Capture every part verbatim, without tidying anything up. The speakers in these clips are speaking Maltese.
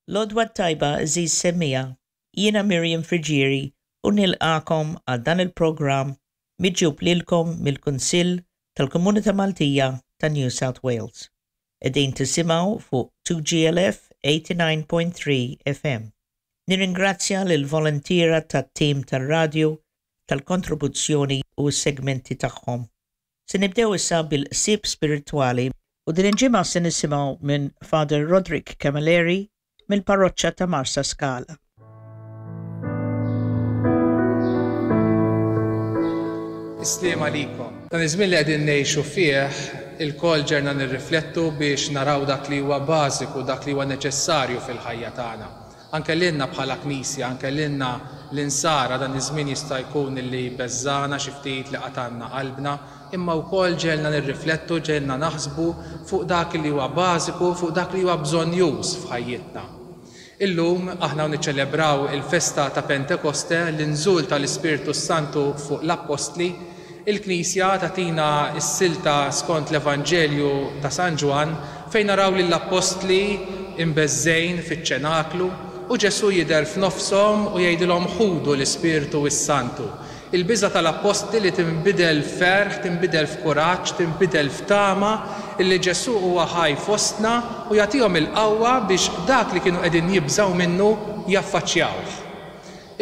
L-għodwa t-tajba, għeżież semmiegħa, jiena Miriam Friggieri u nilqagħkom għal dan il-programm miġjub lilkom mill-Kunsill tal-Komunità Maltija ta' New South Wales. Qegħdin tisimgħu fuq two G L F eighty-nine point three F M. Nirringrazzja lill-voluntiera tat-tim tar-radju tal-kontribuzzjoni u s-segmenti tagħhom. Se nibdew issa bil-ħsieb spiritwali u din il-ġimgħa se nisimgħu minn Father Roderick Camilleri mill-parroċċa ta' Marsa Skala. Is-sliem għalikom. Dan iż-żmien li qegħdin ngħixu fih, ilkoll ġerna nirriflettu biex naraw dak li huwa bażiku, dak li huwa neċessarju fil-ħajja tagħna. Anke lilna bħala Knisja, anke lilna l-insara, dan iż-żmien jista' jkun li beżżagħna xi ftit, li qatalna qalbna, imma wkoll ġegħelna nirriflettu, ġegħelna naħsbu fuq dak li huwa bażiku, fuq dak li huwa bżonnjuż f'ħajjitna. Illum aħna niċċelebraw il-festa ta' Pentekoste, l-inżul tal-Ispirtu Santu fuq l-Appostli. Il-Knisja tagħtina s-silta skont l-Evanġelju ta' San Ġwann, fejn naraw lill-Appostli imbeżżgħin fiċ-ċenaklu u Ġesu jidher f'nofshom u jgħidilhom: "Ħudu l-Ispirtu s-Santu." Il-biża tal-Appostli li tinbidel f'ferħ, tinbidel f'kuraġġ, tinbidel f'tama illi Ġesu huwa ħaj fostna, u jagħtihom il-qawwa biex dak li kienu qegħdin jibżgħu minnu jaffaċċjawh.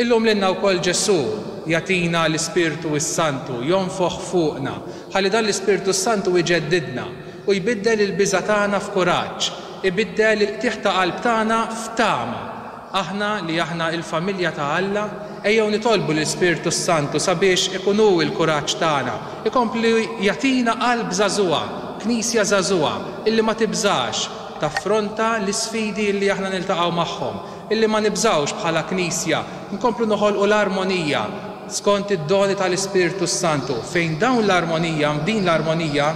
Illum lilna wkoll Ġesu jagħtina l-Ispirtu s-Santu, jonfoħ fuqna, ħalli dan l-Ispirtu s-Santu iġeddidna u jbiddel il-biża tagħna f'kuraġġ, ibiddel il-qtigħ ta' qalb tagħna f'tama. Aħna li aħna il-familja ta' Alla, ejjew nitolbu l-Ispirtu Santu sabiex ikun hu l-kuraġġ tagħna, ikompli jagħtina qalb żagħżugħa, knisja żagħżugħa, illi ma tibżax taffronta l-isfidi illi aħna niltaqgħu magħhom, illi ma nibżawx bħala knisja, nkomplu noħolqu l-armonija skont id-doni tal-Ispirtu Santu, fejn dawn l-armonija, din l-armonija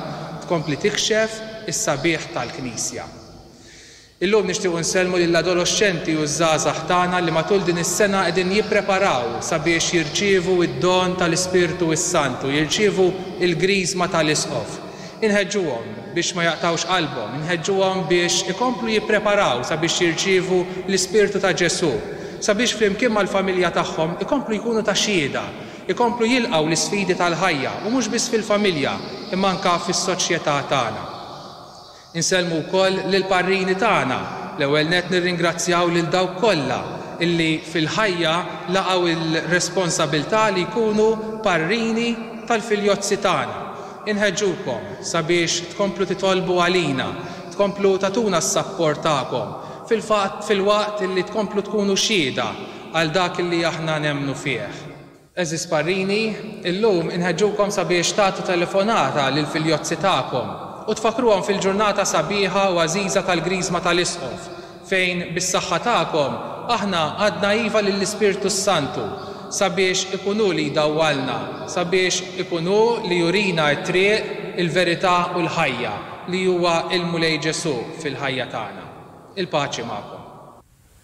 tkompli tikxef is-sabiħ tal-Knisja. Illum nixtiequ nsellmu lill-adolexxenti u żgħażagħ tagħna li matul din is-sena qegħdin jippreparaw sabiex jirċievu id-don tal-Ispirtu s-Santu, jirċievu il-griżma tal-Isqof. Inħeġġuhom biex ma jaqtawx qalbhom, inħeġġuhom biex ikomplu jippreparaw sabiex jirċievu l-Ispirtu ta' Ġesu, sabiex flimkien mal-familja tagħhom ikomplu jkunu ta' xhieda, ikomplu jilqgħu l-isfidi tal-ħajja, u mhux biss fil-familja, imma anka fis-soċjetà tagħna. Insellmu wkoll lill-parrini tagħna. L-ewwel net nirringrazzjaw lil dawk kollha illi fil-ħajja laqgħu il-responsabilità li jkunu parrini tal-filjozzi tagħna. Inħeġġukom sabiex tkomplu titolbu għalina, tkomplu tagħtuna s-sapport tagħkom, fil-fatt fil-waqt illi tkomplu tkunu xhieda għal dak illi aħna nemmnu fih. Għeżież parrini, illum inħeġġukom sabiex tagħtu telefonata lill-filjozzi tagħkom u tfakruhom fil-ġurnata sabiħa u għażiża tal-griżma tal-Isqof, fejn bis-saħħa tagħkom aħna għedna iva lill-Ispirtu Santu sabiex ikun hu li jdawwalna, sabiex ikun hu li jurina t-triq, il-verità u l-ħajja, li huwa il-Mulej Ġesu fil-ħajja tagħna. Il-paċi magħkom.